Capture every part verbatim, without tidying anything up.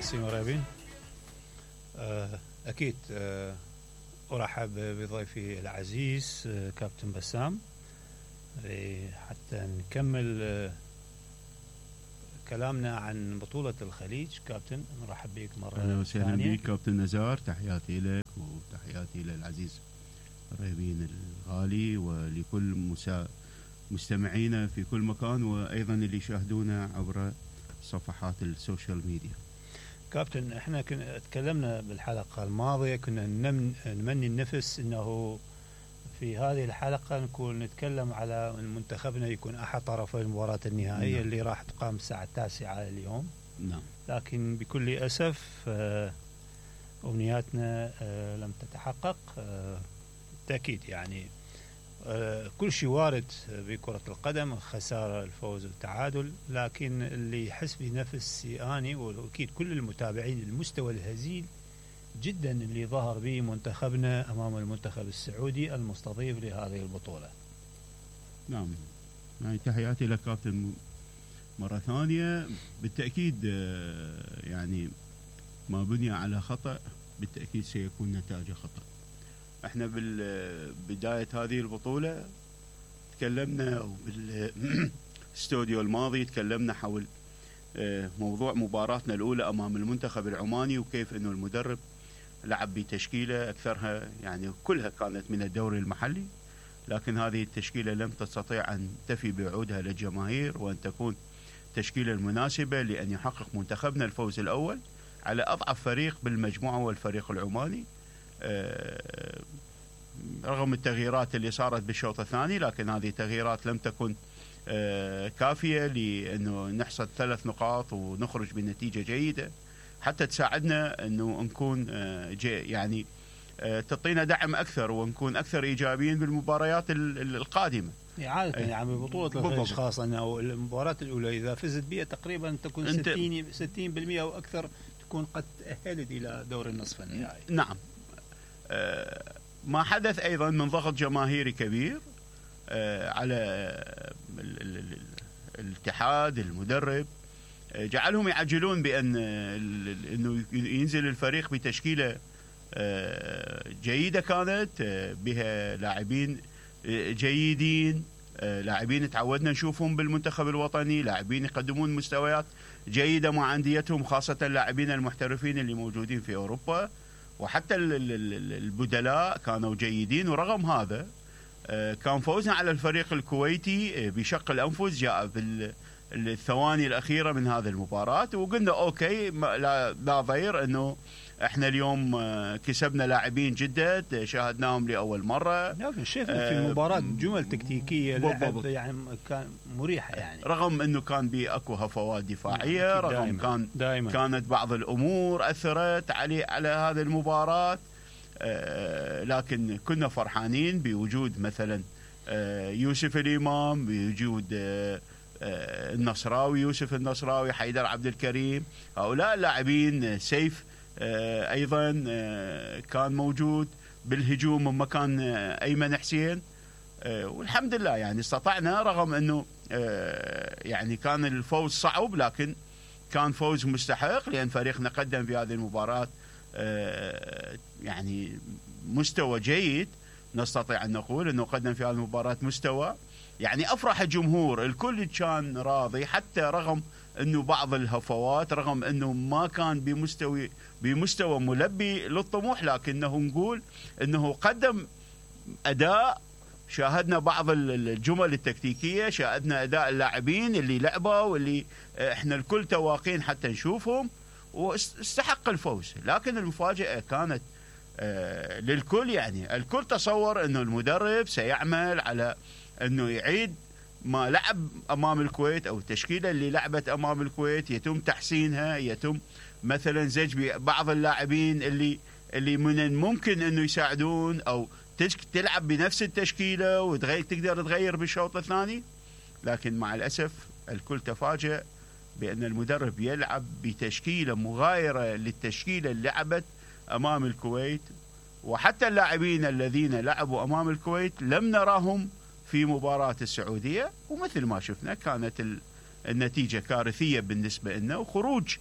سيمور رابين. أكيد أرحب بضيفي العزيز كابتن بسام حتى نكمل كلامنا عن بطولة الخليج. كابتن نرحب بك مرة ثانية. أهلا وسهلا بك كابتن نزار، تحياتي لك وتحياتي للعزيز رابين الغالي ولكل مسا... مستمعينا في كل مكان، وأيضا اللي يشاهدونا عبر صفحات السوشيال ميديا. كابتن احنا كنا تكلمنا بالحلقة الماضية، كنا نمني النفس انه في هذه الحلقة نكون نتكلم على منتخبنا يكون احد طرفي المباراة النهائية. نعم. اللي راح تقام الساعة التاسعة اليوم. نعم. لكن بكل اسف امنياتنا لم تتحقق. بالتأكيد يعني كل شيء وارد بكرة القدم، خسارة الفوز والتعادل، لكن اللي يحس بنفسي اني واكيد كل المتابعين المستوى الهزيل جدا اللي ظهر به منتخبنا امام المنتخب السعودي المستضيف لهذه البطولة. نعم، يعني تحياتي لك كابتن مرة ثانية. بالتأكيد يعني ما بني على خطأ بالتأكيد سيكون نتاجه خطأ. احنا بالبداية هذه البطولة تكلمنا بالاستوديو الماضي تكلمنا حول موضوع مباراتنا الأولى أمام المنتخب العماني، وكيف أنه المدرب لعب بتشكيلة أكثرها يعني كلها كانت من الدوري المحلي، لكن هذه التشكيلة لم تستطيع أن تفي بعودها للجماهير وأن تكون تشكيلة المناسبة لأن يحقق منتخبنا الفوز الأول على أضعف فريق بالمجموعة والفريق العماني. رغم التغييرات اللي صارت بالشوط الثاني، لكن هذه التغييرات لم تكن كافية لأنه نحصد ثلاث نقاط ونخرج بنتيجة جيدة حتى تساعدنا أنه نكون يعني تعطينا دعم أكثر ونكون أكثر إيجابيين بالمباريات القادمة. عادة يعني ببطولة الخليج خاصة أنه المباراة الأولى إذا فزت بها تقريبا تكون ستين بالمئة أو أكثر تكون قد تأهلت إلى دور النصف النهائي. نعم. ما حدث أيضا من ضغط جماهيري كبير على الاتحاد المدرب جعلهم يعجلون بأن أنه ينزل الفريق بتشكيلة جيدة كانت بها لاعبين جيدين، لاعبين تعودنا نشوفهم بالمنتخب الوطني، لاعبين يقدمون مستويات جيدة مع أنديتهم، خاصة اللاعبين المحترفين اللي موجودين في أوروبا، وحتى البدلاء كانوا جيدين. ورغم هذا كان فوزنا على الفريق الكويتي بشق الأنفس جاء بالثواني الأخيرة من هذه المباراة، وقلنا أوكي لا, لا ضير أنه احنا اليوم كسبنا لاعبين جدد شاهدناهم لأول مرة. لكن شفنا في المباراة جمل تكتيكية لعب يعني كان مريحة يعني، رغم انه كان باكو هفوات دفاعية، رغم دائماً كان دائماً كانت بعض الامور اثرت علي على هذه المباراة، آه لكن كنا فرحانين بوجود مثلا آه يوسف الامام، بوجود آه آه النصراوي يوسف النصراوي، حيدر عبد الكريم، هؤلاء اللاعبين، سيف آه ايضا آه كان موجود بالهجوم من مكان آه ايمن حسين، آه والحمد لله يعني استطعنا، رغم انه آه يعني كان الفوز صعب لكن كان فوز مستحق لان فريقنا قدم في هذه المباراة آه يعني مستوى جيد. نستطيع ان نقول انه قدم في هذه المباراة مستوى يعني افرح الجمهور، الكل كان راضي حتى رغم انه بعض الهفوات، رغم انه ما كان بمستوى بمستوى ملبي للطموح، لكنه نقول انه قدم اداء. شاهدنا بعض الجمل التكتيكية، شاهدنا اداء اللاعبين اللي لعبوا واللي احنا الكل تواقين حتى نشوفهم، واستحق الفوز. لكن المفاجأة كانت آه للكل، يعني الكل تصور انه المدرب سيعمل على انه يعيد ما لعب امام الكويت او التشكيله اللي لعبت امام الكويت، يتم تحسينها، يتم مثلا زج ببعض اللاعبين اللي اللي من الممكن انه يساعدون، او تلعب بنفس التشكيله وتغير تقدر تغير بالشوط الثاني. لكن مع الاسف الكل تفاجأ بان المدرب يلعب بتشكيله مغايره للتشكيله اللي لعبت امام الكويت، وحتى اللاعبين الذين لعبوا امام الكويت لم نراهم في مباراة السعودية، ومثل ما شفنا كانت النتيجة كارثية بالنسبة لنا، وخروج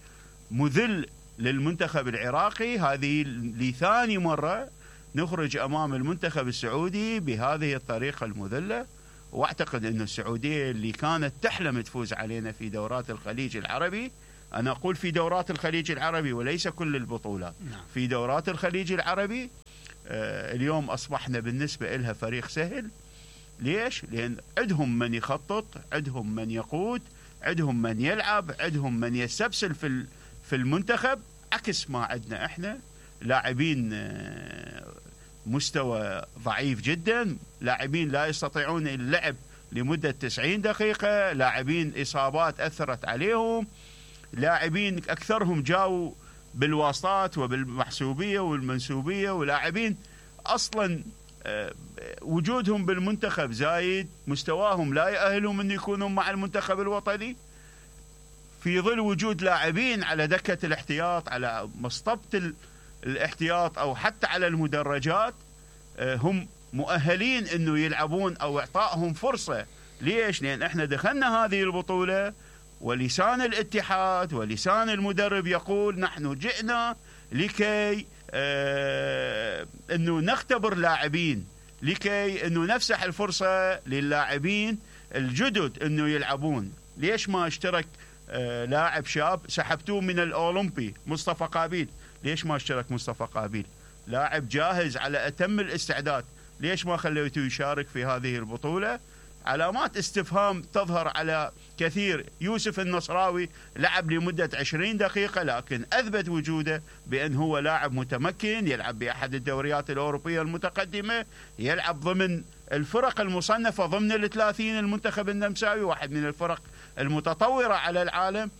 مذل للمنتخب العراقي. هذه لثاني مرة نخرج أمام المنتخب السعودي بهذه الطريقة المذلة، واعتقد أن السعودية اللي كانت تحلم تفوز علينا في دورات الخليج العربي، أنا أقول في دورات الخليج العربي وليس كل البطولات، في دورات الخليج العربي آه اليوم أصبحنا بالنسبة لها فريق سهل. ليش؟ لأن عندهم من يخطط، عندهم من يقود، عندهم من يلعب، عندهم من يستبسل في في المنتخب، عكس ما عندنا احنا لاعبين آه مستوى ضعيف جدا، لاعبين لا يستطيعون اللعب لمدة تسعين دقيقة، لاعبين إصابات أثرت عليهم، لاعبين أكثرهم جاوا بالواسطات وبالمحسوبية والمنسوبية، ولاعبين أصلا وجودهم بالمنتخب زايد، مستواهم لا يأهلهم أن يكونوا مع المنتخب الوطني، في ظل وجود لاعبين على دكة الاحتياط، على مصطبة الاحتياط أو حتى على المدرجات هم مؤهلين أنه يلعبون أو إعطائهم فرصة. ليش؟ لأن احنا دخلنا هذه البطولة ولسان الاتحاد ولسان المدرب يقول نحن جئنا لكي آه أنه نختبر لاعبين، لكي أنه نفسح الفرصة للاعبين الجدد أنه يلعبون. ليش ما اشترك آه لاعب شاب سحبتوه من الأولمبي مصطفى قابيل؟ ليش ما اشترك مصطفى قابيل؟ لاعب جاهز على أتم الاستعداد، ليش ما خليتوه يشارك في هذه البطولة؟ علامات استفهام تظهر على كثير. يوسف النصراوي لعب لمدة عشرين دقيقة لكن أثبت وجوده بأن هو لاعب متمكن، يلعب بأحد الدوريات الأوروبية المتقدمة، يلعب ضمن الفرق المصنفة ضمن الثلاثين، المنتخب النمساوي واحد من الفرق المتطورة على العالم.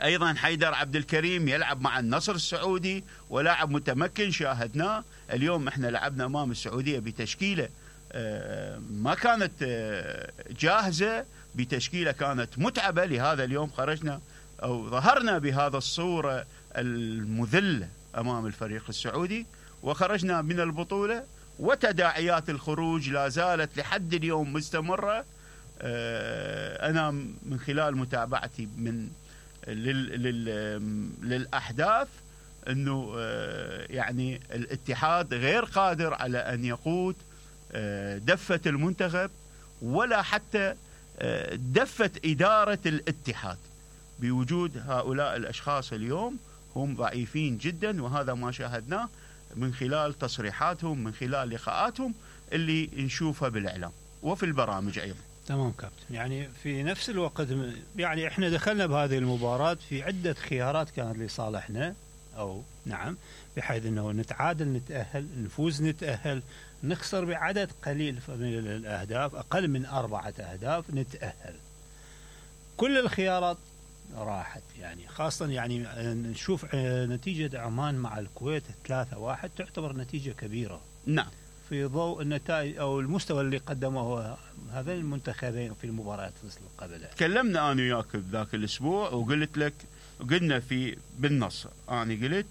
أيضا حيدر عبد الكريم يلعب مع النصر السعودي ولاعب متمكن شاهدناه. اليوم احنا لعبنا أمام السعودية بتشكيلة ما كانت جاهزة، بتشكيلة كانت متعبة، لهذا اليوم خرجنا أو ظهرنا بهذا الصورة المذلة أمام الفريق السعودي وخرجنا من البطولة، وتداعيات الخروج لا زالت لحد اليوم مستمرة. أنا من خلال متابعتي من لل لل للأحداث أنه يعني الاتحاد غير قادر على أن يقود دفة المنتخب ولا حتى دفة إدارة الاتحاد. بوجود هؤلاء الأشخاص اليوم هم ضعيفين جدا، وهذا ما شاهدناه من خلال تصريحاتهم، من خلال لقاءاتهم اللي نشوفها بالإعلام وفي البرامج أيضا. تمام كابتن. يعني في نفس الوقت يعني احنا دخلنا بهذه المباراة في عدة خيارات كانت لصالحنا، أو نعم، بحيث أنه نتعادل نتأهل، نفوز نتأهل، نخسر بعدد قليل من الأهداف، أقل من أربعة أهداف نتأهل. كل الخيارات راحت، يعني خاصة يعني نشوف نتيجة عمان مع الكويت ثلاثة واحد تعتبر نتيجة كبيرة. نعم. في ضوء النتائج أو المستوى اللي قدمه هذين المنتخبين في المباريات قبلها. تكلمنا أنا وياك ذاك الأسبوع وقلت لك، قلنا في بالنص، أنا قلت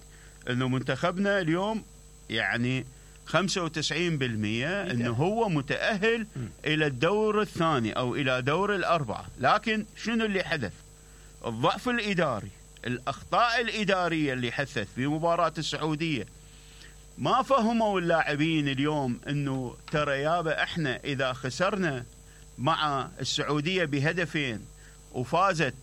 إنه منتخبنا اليوم يعني خمسة وتسعين بالمئة إنه هو متأهل م. إلى الدور الثاني أو إلى دور الأربعة، لكن شنو اللي حدث؟ الضعف الإداري، الأخطاء الإدارية اللي حدثت في مباراة السعودية. ما فهموا اللاعبين اليوم إنه ترى يابا إحنا إذا خسرنا مع السعودية بهدفين وفازت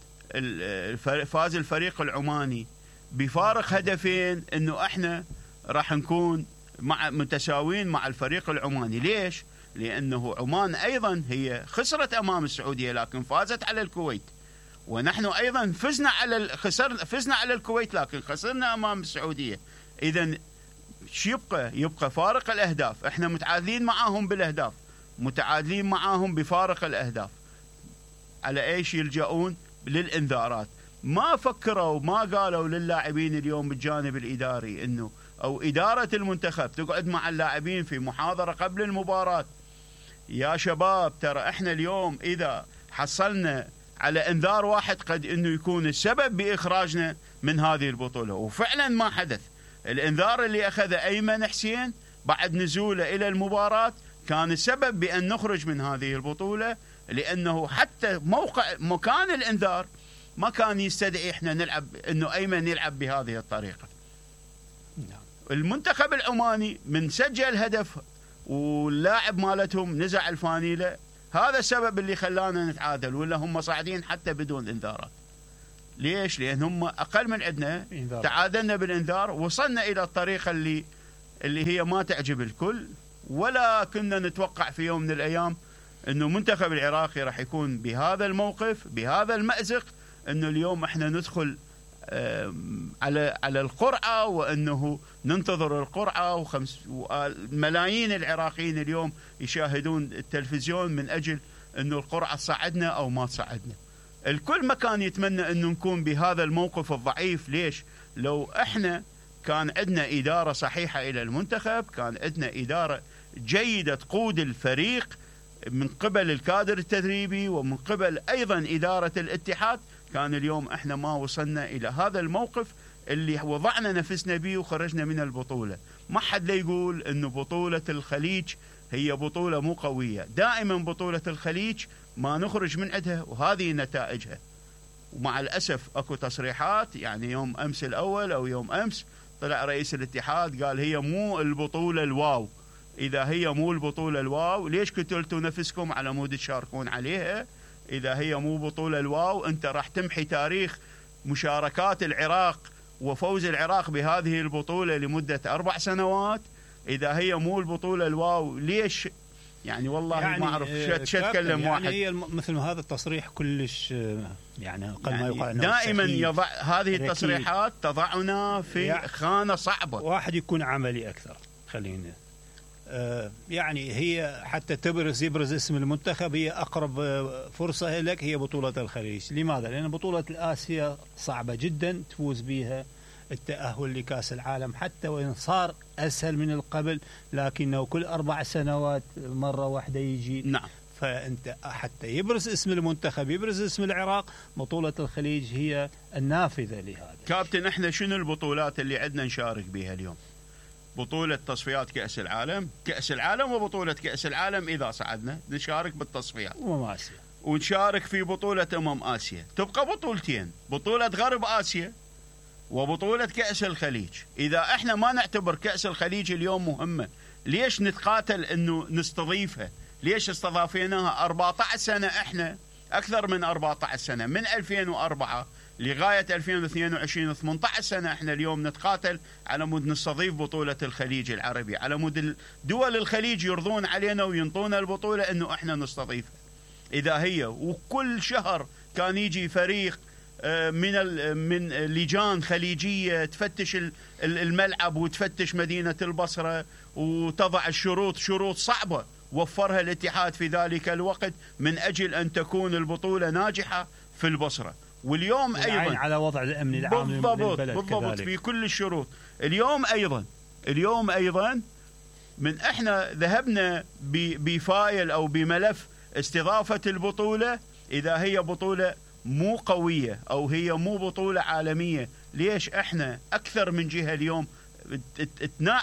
فاز الفريق العماني بفارق هدفين، إنه إحنا راح نكون مع متساوين مع الفريق العماني. ليش؟ لأنه عمان أيضا هي خسرت أمام السعودية لكن فازت على الكويت، ونحن أيضا فزنا على خسرنا فزنا على الكويت لكن خسرنا أمام السعودية. إذن شو يبقى؟ يبقى فارق الأهداف، إحنا متعادلين معاهم بالأهداف، متعادلين معاهم بفارق الأهداف. على إيش يلجؤون؟ للإنذارات. ما فكروا، ما قالوا للاعبين اليوم بالجانب الإداري إنه أو إدارة المنتخب تقعد مع اللاعبين في محاضرة قبل المباراة، يا شباب ترى إحنا اليوم إذا حصلنا على إنذار واحد قد إنه يكون السبب بإخراجنا من هذه البطولة. وفعلا ما حدث. الإنذار اللي أخذه أيمن حسين بعد نزوله إلى المباراة كان السبب بأن نخرج من هذه البطولة، لأنه حتى موقع مكان الإنذار ما كان يستدعي احنا نلعب انه ايمن يلعب بهذه الطريقه. نعم. المنتخب العماني من سجل هدف واللاعب مالتهم نزع الفانيله، هذا السبب اللي خلانا نتعادل، ولا هم صاعدين حتى بدون انذارات. ليش؟ لان هم اقل من عندنا، تعادلنا بالانذار، وصلنا الى الطريقه اللي اللي هي ما تعجب الكل، ولا كنا نتوقع في يوم من الايام انه المنتخب العراقي راح يكون بهذا الموقف، بهذا المأزق، انه اليوم احنا ندخل على على القرعه، وانه ننتظر القرعه، وخمس ملايين العراقيين اليوم يشاهدون التلفزيون من اجل انه القرعه تصعدنا او ما تصعدنا. الكل ما كان يتمنى انه نكون بهذا الموقف الضعيف. ليش؟ لو احنا كان عندنا اداره صحيحه الى المنتخب، كان عندنا اداره جيده تقود الفريق من قبل الكادر التدريبي ومن قبل ايضا اداره الاتحاد، كان اليوم احنا ما وصلنا الى هذا الموقف اللي وضعنا نفسنا به وخرجنا من البطوله. ما حد لا يقول انه بطوله الخليج هي بطوله مو قويه، دائما بطوله الخليج ما نخرج من عندها وهذه نتائجها. ومع الاسف اكو تصريحات، يعني يوم امس الاول او يوم امس طلع رئيس الاتحاد قال هي مو البطوله الواو. اذا هي مو البطوله الواو ليش قتلتوا نفسكم على مود تشاركون عليها؟ إذا هي مو بطولة الواو أنت راح تمحي تاريخ مشاركات العراق وفوز العراق بهذه البطولة لمدة أربع سنوات. إذا هي مو البطولة الواو ليش؟ يعني والله يعني ما أعرف شو أتكلم يعني واحد. هي مثل هذا التصريح كلش يعني أقل يعني ما يقال دائما يضع هذه التصريحات تضعنا في يعني خانة صعبة. واحد يكون عملي أكثر. خلينا يعني هي حتى تبرز يبرز اسم المنتخب، هي أقرب فرصة لك هي بطولة الخليج. لماذا؟ لأن بطولة الآسيا صعبة جدا تفوز بها التأهل لكأس العالم، حتى وإن صار أسهل من القبل لكنه كل أربع سنوات مرة واحدة يجي. نعم. فأنت حتى يبرز اسم المنتخب، يبرز اسم العراق، بطولة الخليج هي النافذة لهذا. كابتن احنا شنو البطولات اللي عندنا نشارك بها اليوم؟ بطولة تصفيات كأس العالم، كأس العالم وبطولة كأس العالم إذا صعدنا نشارك بالتصفيات. أمم آسيا. ونشارك في بطولة أمم آسيا، تبقى بطولتين، بطولة غرب آسيا وبطولة كأس الخليج. إذا احنا ما نعتبر كأس الخليج اليوم مهمة، ليش نتقاتل إنه نستضيفها؟ ليش استضافيناها أربعة عشر سنة؟ احنا أكثر من أربعة عشر سنة، من ألفين وأربعة لغاية ألفين واثنين وعشرين، ثمانية عشر سنة احنا اليوم نتقاتل على مود نستضيف بطولة الخليج العربي، على مود دول الخليج يرضون علينا وينطونا البطولة انه احنا نستضيفها. اذا هي وكل شهر كان يجي فريق من من لجان خليجية تفتش الملعب وتفتش مدينة البصرة وتضع الشروط، شروط صعبة وفرها الاتحاد في ذلك الوقت من اجل ان تكون البطولة ناجحة في البصرة. واليوم ايضا على وضع الامن العام بالضبط للبلد بالضبط كذلك. في كل الشروط. اليوم ايضا اليوم ايضا من احنا ذهبنا بفايل او بملف استضافه البطوله، اذا هي بطوله مو قويه او هي مو بطوله عالميه، ليش احنا اكثر من جهه اليوم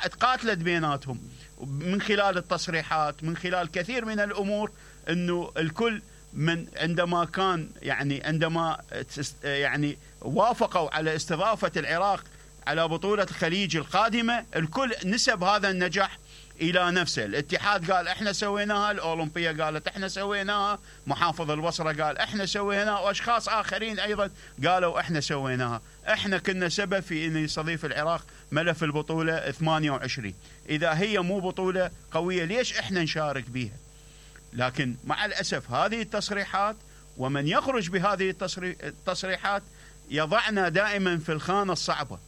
تقاتلت بيناتهم من خلال التصريحات، من خلال كثير من الامور، انه الكل من عندما كان يعني عندما يعني وافقوا على استضافة العراق على بطولة الخليج القادمة، الكل نسب هذا النجاح إلى نفسه. الاتحاد قال احنا سويناها، الأولمبية قالت احنا سويناها، محافظ البصرة قال احنا سويناها، واشخاص آخرين أيضا قالوا احنا سويناها. احنا كنا سبب في أن يستضيف العراق ملف البطولة ثمانية وعشرين. إذا هي مو بطولة قوية ليش احنا نشارك بيها؟ لكن مع الأسف هذه التصريحات ومن يخرج بهذه التصريحات يضعنا دائما في الخانة الصعبة.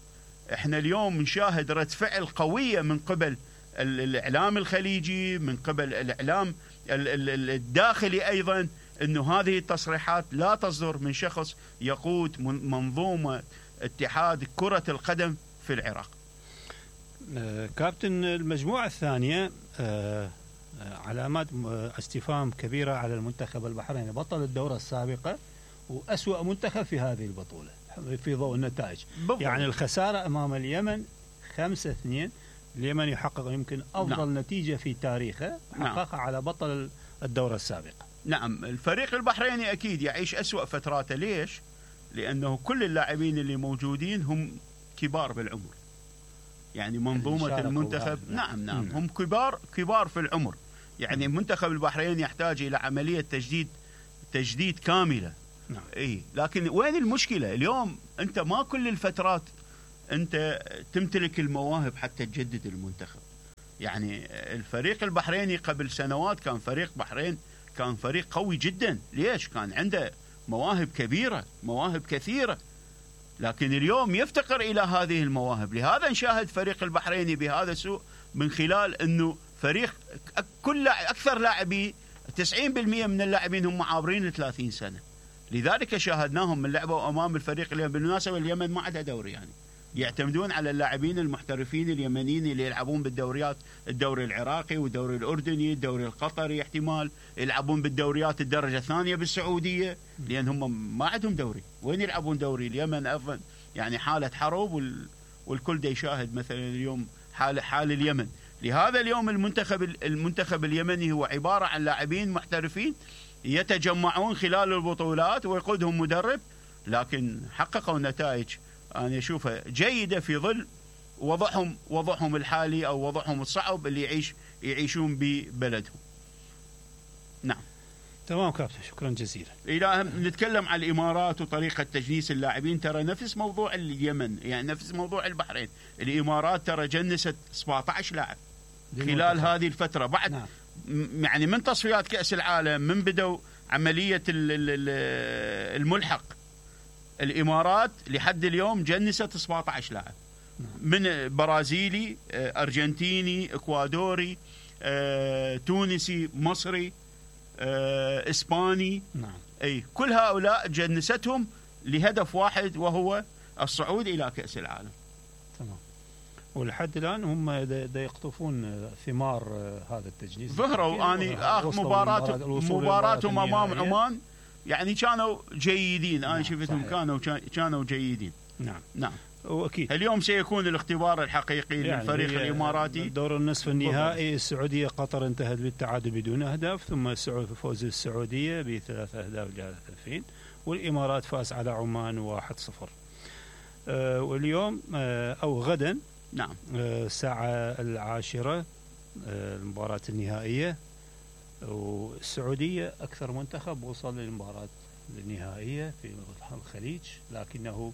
احنا اليوم نشاهد رد فعل قوية من قبل الإعلام الخليجي، من قبل الإعلام الداخلي أيضا، أنه هذه التصريحات لا تصدر من شخص يقود منظومة اتحاد كرة القدم في العراق. كابتن، المجموعة الثانية علامات استفهام كبيرة على المنتخب البحريني، بطل الدورة السابقة وأسوأ منتخب في هذه البطولة في ضوء النتائج. بالضبط. يعني الخسارة أمام اليمن خمسة اثنين، اليمن يحقق يمكن أفضل نعم. نتيجة في تاريخه حققها نعم. على بطل الدورة السابقة. نعم، الفريق البحريني أكيد يعيش أسوأ فتراته. ليش؟ لأنه كل اللاعبين اللي موجودين هم كبار بالعمر، يعني منظومة المنتخب نعم نعم مم. هم كبار كبار في العمر، يعني مم. منتخب البحرين يحتاج إلى عملية تجديد تجديد كاملة. نعم. إيه لكن وين المشكلة اليوم؟ أنت ما كل الفترات أنت تمتلك المواهب حتى تجدد المنتخب. يعني الفريق البحريني قبل سنوات كان فريق بحرين كان فريق قوي جدا. ليش؟ كان عنده مواهب كبيرة، مواهب كثيرة، لكن اليوم يفتقر إلى هذه المواهب. لهذا نشاهد فريق البحريني بهذا السوء من خلال أنه فريق كل أكثر لاعبي تسعين بالمئة من اللاعبين هم عابرين ثلاثين سنة. لذلك شاهدناهم من لعبوا أمام الفريق اليمن. بالمناسبة اليمن ما عندها دوري، يعني يعتمدون على اللاعبين المحترفين اليمنيين اللي يلعبون بالدوريات، الدوري العراقي والدوري الأردني، الدوري القطري، احتمال يلعبون بالدوريات الدرجة الثانية بالسعودية، لأن هم ما عندهم دوري. وين يلعبون دوري؟ اليمن أيضا يعني حالة حرب، وال... والكل دا يشاهد مثلا اليوم حال حال اليمن. لهذا اليوم المنتخب المنتخب اليمني هو عبارة عن لاعبين محترفين يتجمعون خلال البطولات ويقودهم مدرب، لكن حققوا نتائج أنا أشوفها جيدة في ظل وضعهم وضعهم الحالي أو وضعهم الصعب اللي يعيش يعيشون ببلدهم. نعم تمام كابتن، شكرا جزيلا. إذا نتكلم عن الإمارات وطريقة تجنيس اللاعبين، ترى نفس موضوع اليمن، يعني نفس موضوع البحرين. الإمارات ترى جنست سبعة عشر لاعب خلال هذه الفترة بعد. نعم. يعني من تصفيات كأس العالم، من بدوا عملية الملحق، الإمارات لحد اليوم جنست سبعة عشر لاعب، من برازيلي، أرجنتيني، إكوادوري، تونسي، مصري، إسباني. نعم. أي كل هؤلاء جنستهم لهدف واحد، وهو الصعود إلى كأس العالم. تمام. ولحد الآن هم دا يقطفون ثمار هذا التجنيس. ظهروا أني آخر مباراة مباراتهم أمام عمان يعني كانوا جيدين. أنا نعم شفتهم كانوا كانوا جيدين. نعم نعم وأكيد اليوم سيكون الاختبار الحقيقي يعني للفريق الإماراتي. دور النصف النهائي السعودية قطر انتهت بالتعادل بدون أهداف، ثم فوز السعودية بثلاث أهداف لهدفين، والإمارات فاز على عمان واحد صفر. أه واليوم أه أو غدا نعم الساعة أه العاشرة أه المباراة النهائية، والسعودية أكثر منتخب وصل للمباراة النهائية في الخليج، لكنه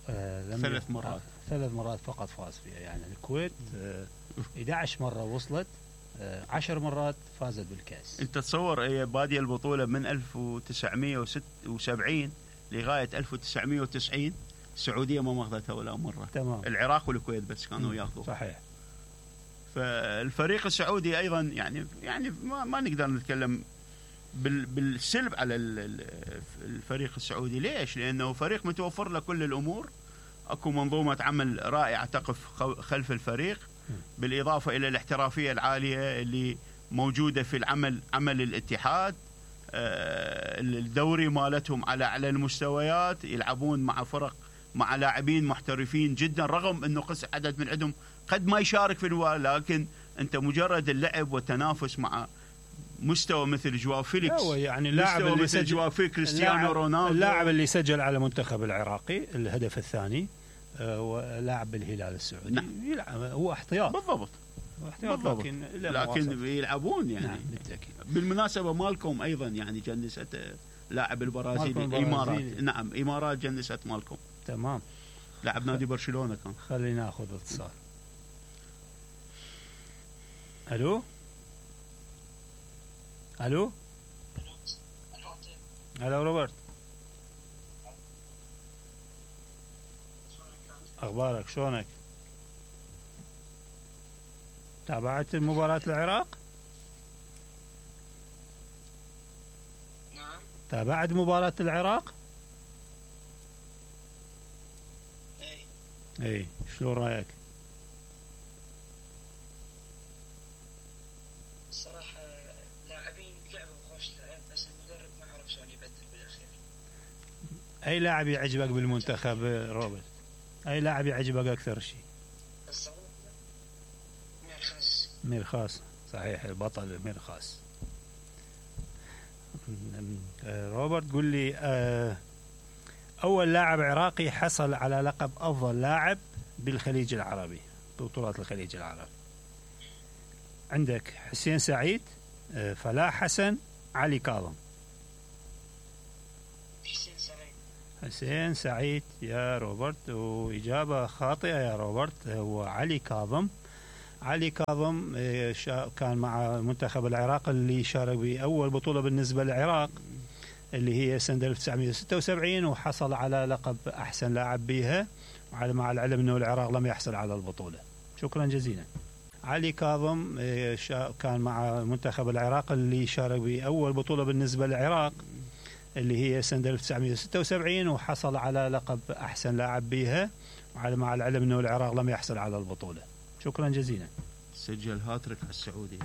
آه ثلاث مرات آه ثلاث مرات فقط فاز فيها. يعني الكويت آه إحدى عشرة مرة وصلت، آه عشر مرات فازت بالكأس. أنت تصور هي بادية البطولة من ألف وتسعمئة وسبعين لغاية ألف وتسعمئة وتسعين السعودية ما ماخذتها ولا مرة. تمام. العراق والكويت بس كانوا ياخذوا. صحيح. فالفريق السعودي أيضا يعني يعني ما, ما نقدر نتكلم بالسلب على الفريق السعودي. ليش؟ لأنه فريق متوفر له كل الأمور، أكو منظومة عمل رائعة تقف خلف الفريق، بالإضافة إلى الاحترافية العالية اللي موجودة في العمل عمل الاتحاد. الدوري مالتهم على أعلى المستويات، يلعبون مع فرق مع لاعبين محترفين جدا، رغم أنه قص عدد من عندهم قد ما يشارك في الولاء، لكن أنت مجرد اللعب والتنافس مع مستوى مثل جواو فيليكس، يعني اللاعب اللي مثل جواو فيليكس، كريستيانو رونالدو، اللاعب اللي سجل على منتخب العراقي الهدف الثاني، ولاعب بالهلال السعودي. نعم. يلعب هو احتياط بالضبط احتياط بالضبط. لكن لكن يلعبون يعني. نعم بالتأكيد. بالمناسبة مالكم أيضا يعني جنست لاعب البرازيلي الإمارات. نعم إمارات جنست مالكم. تمام. لاعب نادي برشلونة كان. خلينا ناخذ اتصال. الو الو الو روبرت، اخبارك شلونك؟ تابعت مباراة العراق؟ نعم تابعت مباراة العراق؟ اي اي شلون رايك؟ الصراحة لاعبين لعبوا خوش لعب، بس المدرب ما عرف شلون يبدل بالاخير. اي لاعب يعجبك بالمنتخب روبرت؟ اي لاعب يعجبك اكثر شيء؟ الصراحة ميرخاس. ميرخاس صحيح، البطل ميرخاس. روبرت قل لي، أول لاعب عراقي حصل على لقب أفضل لاعب بالخليج العربي، ببطولات الخليج العربي. عندك حسين سعيد، فلاح حسن، علي كاظم. حسين سعيد. حسين سعيد يا روبرت، وإجابة خاطئة يا روبرت، هو علي كاظم. علي كاظم كان مع منتخب العراق اللي شارك بأول بطولة بالنسبة للعراق اللي هي سنة ألف وتسعمئة وستة وسبعين، وحصل على لقب أحسن لاعب بها، مع العلم أنه العراق لم يحصل على البطولة. شكرا جزيلا. علي كاظم كان مع منتخب العراق اللي شارك بأول بطولة بالنسبة للعراق اللي هي سنة ألف وتسعمئة وستة وسبعين، وحصل على لقب أحسن لاعب بها، مع العلم أنه العراق لم يحصل على البطولة. شكرا جزيلا. سجل هاتريك على السعودية.